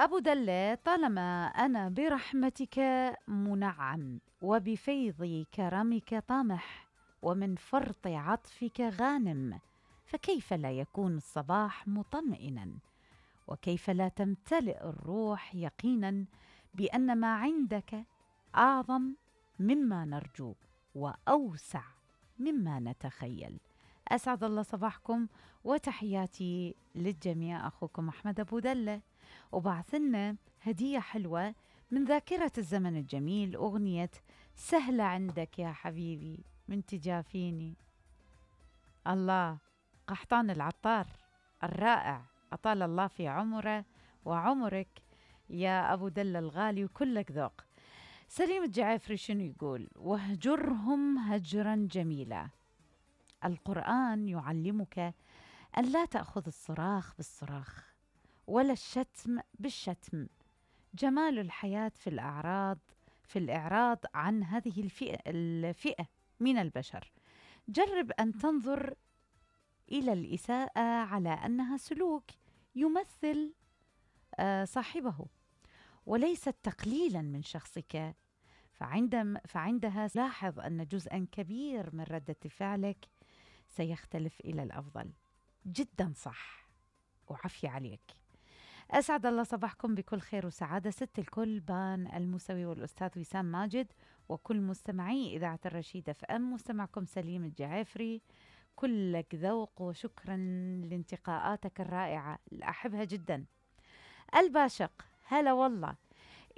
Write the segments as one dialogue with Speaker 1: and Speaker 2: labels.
Speaker 1: أبو دلة: طالما أنا برحمتك منعم، وبفيض كرمك طامح، ومن فرط عطفك غانم، فكيف لا يكون الصباح مطمئنا؟ وكيف لا تمتلئ الروح يقينا بأن ما عندك أعظم مما نرجو وأوسع مما نتخيل. أسعد الله صباحكم وتحياتي للجميع. أخوكم أحمد أبو دلة، وبعثلنا هدية حلوة من ذاكرة الزمن الجميل، أغنية سهلة عندك يا حبيبي من تجافيني. الله، قحطان العطار الرائع، أطال الله في عمره وعمرك يا أبو دلة الغالي، وكلك ذوق. سليم الجعافري شنو يقول؟ واهجرهم هجرا جميلا. القرآن يعلمك أن لا تأخذ الصراخ بالصراخ ولا الشتم بالشتم. جمال الحياة في الإعراض عن هذه الفئة من البشر. جرب أن تنظر إلى الإساءة على أنها سلوك يمثل صاحبه وليست تقليلا من شخصك، فعندها لاحظ أن جزءا كبير من ردة فعلك سيختلف إلى الأفضل. جدا صح، وعافية عليك. أسعد الله صباحكم بكل خير وسعادة. ست الكل بان الموسوي والأستاذ وسام ماجد وكل مستمعي إذاعة الرشيدة FM. مستمعكم سليم الجعافري، كلك ذوق، وشكرا لانتقاءاتك الرائعة، أحبها جدا. الباشق: هلا والله.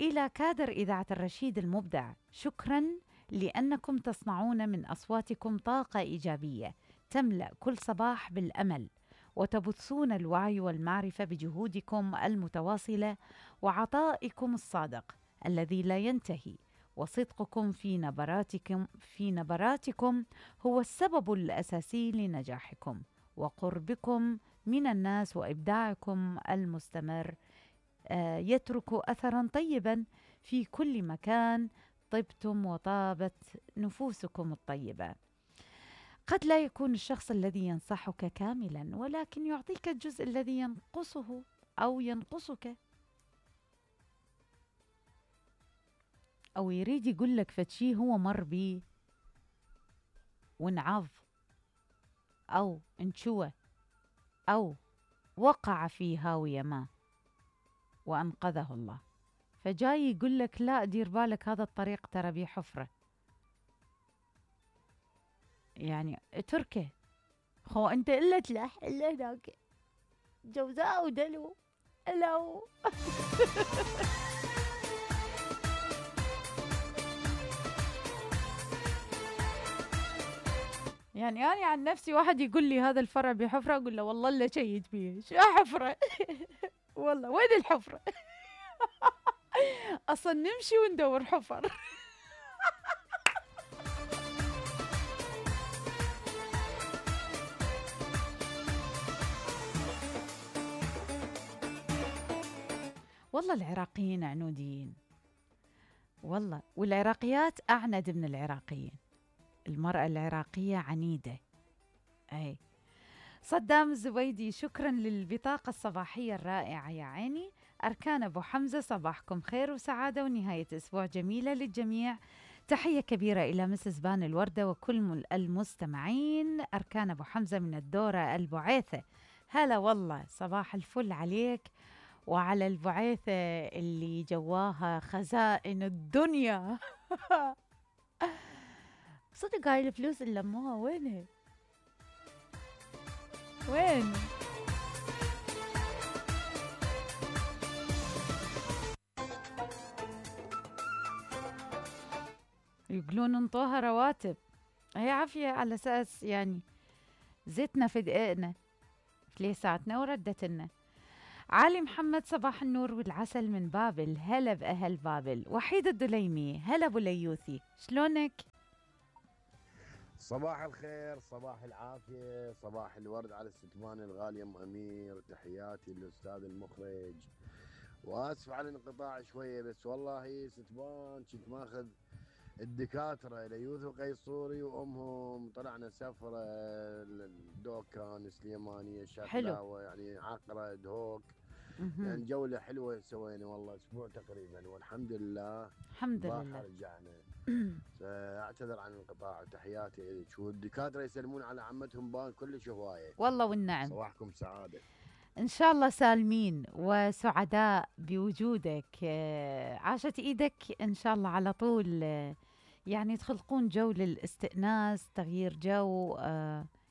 Speaker 1: إلى كادر إذاعة الرشيد المبدع، شكرا لأنكم تصنعون من أصواتكم طاقة إيجابية تملأ كل صباح بالأمل، وتبثون الوعي والمعرفة بجهودكم المتواصلة وعطائكم الصادق الذي لا ينتهي. وصدقكم في نبراتكم هو السبب الأساسي لنجاحكم وقربكم من الناس، وإبداعكم المستمر يترك أثرا طيبا في كل مكان طبتم وطابت نفوسكم الطيبة. قد لا يكون الشخص الذي ينصحك كاملا، ولكن يعطيك الجزء الذي ينقصه أو ينقصك، أو يريد يقول لك فتشي هو مر بيه ونعض أو انشوى أو وقع في هاوية ما وأنقذه الله، فجاي يقول لك لا دير بالك هذا الطريق ترى بيه حفرة، يعني تركه خو أنت إلا تلح إلا هناك جوزاء ودلو ألو. يعني أنا عن نفسي واحد يقول لي هذا الفرع بحفرة، أقول له والله إلا شيد بيه شو حفرة. والله وين الحفرة؟ أصلا نمشي وندور حفر. والله العراقيين عنودين والله، والعراقيات أعند من العراقيين. المرأة العراقية عنيدة. أي صدام الزبيدي: شكرا للبطاقة الصباحية الرائعة يا عيني. أركان أبو حمزة: صباحكم خير وسعادة ونهاية أسبوع جميلة للجميع. تحية كبيرة إلى مسز بان الوردة وكل المستمعين. أركان أبو حمزة من الدورة البعيثة. هلا والله، صباح الفل عليك وعلى البعيثة اللي جواها خزائن الدنيا. صدق هاي الفلوس اللي لموها وينها؟ وين؟ يقولون انطوها رواتب. هي عافية على أساس يعني زيتنا في دقيقنا فليساتنا وردت لنا. علي محمد: صباح النور والعسل من بابل. هلا بأهل بابل. وحيد الدليمي: هلا أبو ليوثي، شلونك؟
Speaker 2: صباح الخير، صباح العافية، صباح الورد على الستمان الغالية أم أمير. تحياتي للأستاذ المخرج، وآسف على الانقطاع شوية، بس والله ستمان كنت ماخذ الدكاترة ليوث وقيصوري وأمهم، طلعنا سفرة الدوكان سليمانية شكلاوة يعني عقرة دهوك
Speaker 1: مهم.
Speaker 2: لان جوله حلوه سوينا والله اسبوع تقريبا والحمد لله.
Speaker 1: الحمد
Speaker 2: البارحه
Speaker 1: لله.
Speaker 2: رجعنا. فاعتذر عن الانقطاع وتحياتي لك، والدكاتره يسلمون على عمتهم بان كلش هوايه.
Speaker 1: والله والنعم.
Speaker 2: صباحكم سعاده.
Speaker 1: إن شاء الله سالمين وسعداء بوجودك. عاشت إيدك إن شاء الله على طول. يعني تخلقون جو للاستئناس، تغيير جو.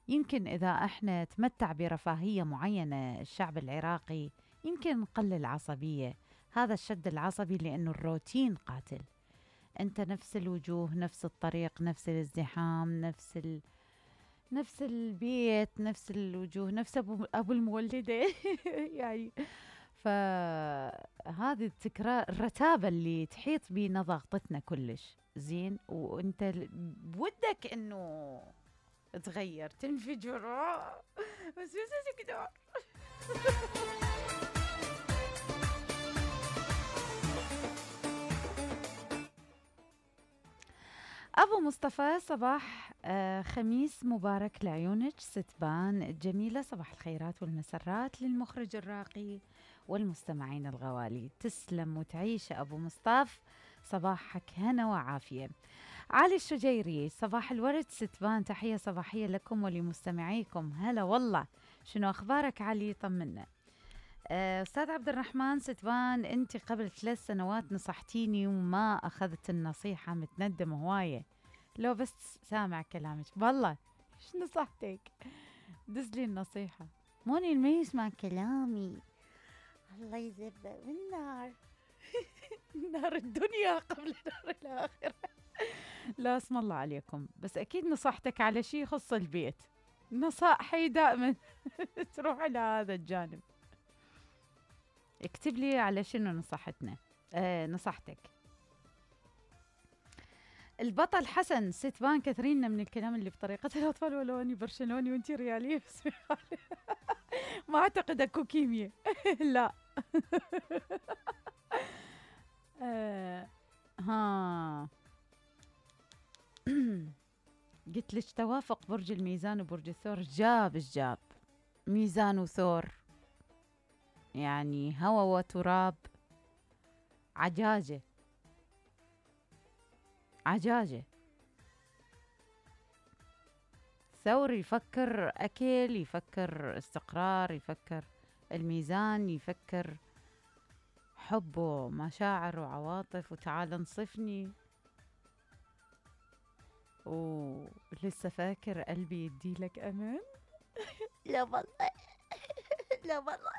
Speaker 1: يمكن إذا إحنا تمتع برفاهية معينة الشعب العراقي يمكن نقلل عصبية. هذا الشد العصبي لأنه الروتين قاتل. أنت نفس الوجوه، نفس الطريق، نفس الازدحام، نفس البيت، نفس الوجوه، نفس أبو المولدة يعني. فهذه التكرار، الرتابة اللي تحيط بينا ضاغطتنا كلش زين. وانت بودك انه تغير، تنفجر، بس تقدر. أبو مصطفى، صباح خميس مبارك لعيونك ستبان الجميلة. صباح الخيرات والمسرات للمخرج الراقي والمستمعين الغوالي. تسلم وتعيش أبو مصطفى، صباحك هنا وعافية. علي الشجيري، صباح الورد ستبان، تحية صباحية لكم ولمستمعيكم. هلا والله، شنو أخبارك علي؟ طمنا. أستاذ عبد الرحمن ستبان، أنت قبل 3 سنوات نصحتيني وما أخذت النصيحة، متندم هواية. لو بس سامع كلامك والله. إيش نصحتك؟ دز لي النصيحة. موني ما يسمع كلامي الله يذبه بالنار. نار الدنيا قبل نار الآخرة. لا اسم الله عليكم، بس أكيد نصحتك على شيء يخص البيت. نصائحي دائما تروح على هذا الجانب. اكتب لي على شنو نصحتنا. نصحتك. البطل حسن ستبان، كثرين من الكلام اللي بطريقة الأطفال، ولو أني برشلوني وأنتي ريالية بس ما أعتقد أكو كيمياء. لا. ها قلت لك توافق برج الميزان وبرج الثور. جاب ميزان وثور يعني هوا وتراب. عجاجة. ثور يفكر أكل، يفكر استقرار، يفكر الميزان يفكر حب ومشاعر وعواطف وتعال انصفني. ولسه فاكر قلبي يدي لك أمان. لا والله. لا والله.